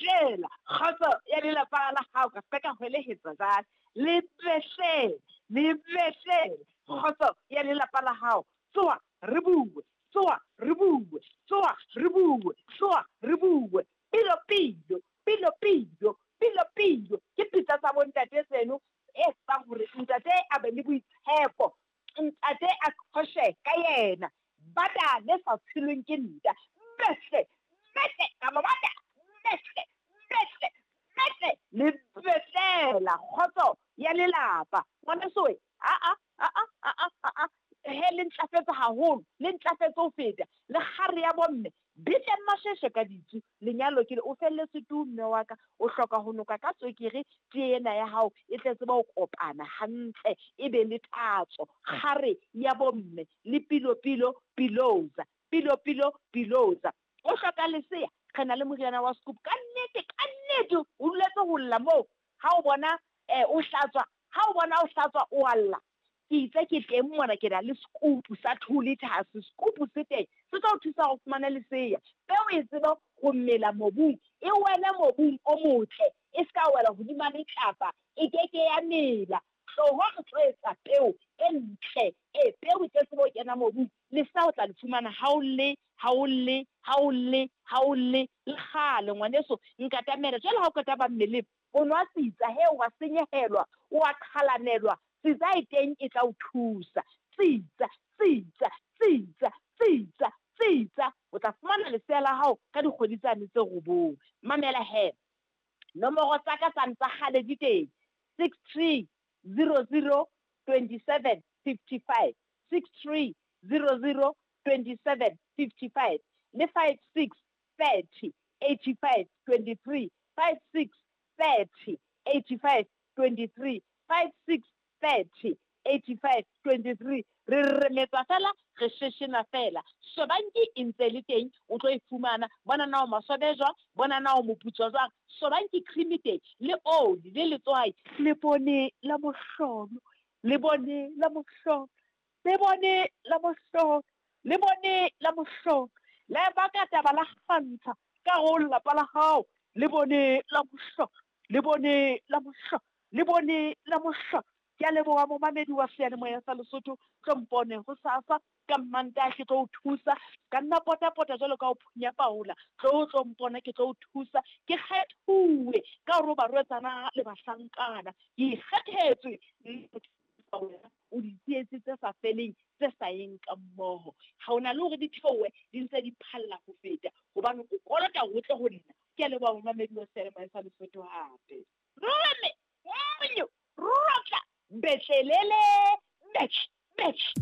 Betlela kgotso ya lelapa la hao, ka se ka hwelehetsa jwale. Le betlele, le betlele kgotso ya lelapa la hao. Tsoha re bue, tsoha re bue, tsoha re bue, tsoha re bue. Pilo pilo, pilo pilo, pilo pilo. Ke pitsa tsa bontate tseno e etsang hore ntate a be le boitshepo, ntate a qhoshe ka yena. Bata le sa tshelweng ke nta. Behle, behle, ka ba bata, behle, behle, behle. Le betlela kgotso ya lelapa. Ngwaneso we, aa, aa, aa, aa, he le ntlafetse haholo, le ntlafetse ho feta. Le kgare ya bomme, betleng masheshe ka ditsu, lenyalo ke le, o felletswe tu mme wa ka, o hloka ho noka ka tswekere, tee ena ya hao e tle tsebe ho kopana hantle, e be le tatso. Kgare ya bomme, le pilo pilo piloza, pilo pilo piloza. O hloka lesea, re na le moriana wa scoop. Ka nnete, ka nnete, o duletse ho lla moo, ha o bona o hlatswa, ha o bona o hlatswa o a lla. Ke itse ke teng mona, ke na le scoop sa 2 liters, scoop se teng, se tlo o thusa hore o fumane lesea. Peo e tsebe ho mela mobung, e wele mobung o motle, e ska wela hodima letlapa, e keke ya mela. Tloho re tlo etsa peo e ntle, e peo e tlo tsebe ho kena mobung. Lesea o tla le fumana ha o lle, ha o lle, ha o lle, ha o lle. Le kgale ngwaneso, nkatamela. Jwale ha o qeta ba mmeleng, o nwa tsitsa, he wa senyehelwa, o a qhalanelwa. Tsitsa e teng e tla o thusa. Tsitsa, tsitsa, tsitsa, tsitsa, tsitsa. O tla fumana lesea la hao ka dikgwedi tsane tse 9. Mamela he, nomoro tsa ka tsane tsa kgale di teng. 63 00 27 55, 63 00 27 55 le 56 30 85 23, 56 30 85 23, 56 30 85 23. Re remetsa fela, re sheshena fela. Sobanki e ntse le teng, o tlo e fumana. Bona na o maswabe jwang, bona na o moputswa jwang. Sobanki cream e teng, le oli, le letswai. Le bone la mohlolo, le bone la mohlolo, le bone la mohlolo, le bone la mohlolo. La baka taba la kgantsha ka go lelapa la hao. Le bone la mohlolo, le bone la mohlolo, le bone la mohlolo. Ke a leboha momamedi wa seyalemoya sa Lesotho, tlo mpone hosasa ka Mmantaha ke tlo o thusa. Ka nna potapota jwalo ka o phunya paola, tlo tlo mpona ke tlo o thusa. Ke kgethuwe ka hore o barwetsana le bahlankana, ke ikgethetswe wena o ditsietsi tse sa feleng tse sa yeng ka mmoho. Ha o na le hore di theohe di ntse di phalla ho feta, hobane o kolota ho tle ho nna. Ke a leboha momamedi wa seyalemoya sa Lesotho hape. Rame, monyo, rotla, betlelele, betl, betl.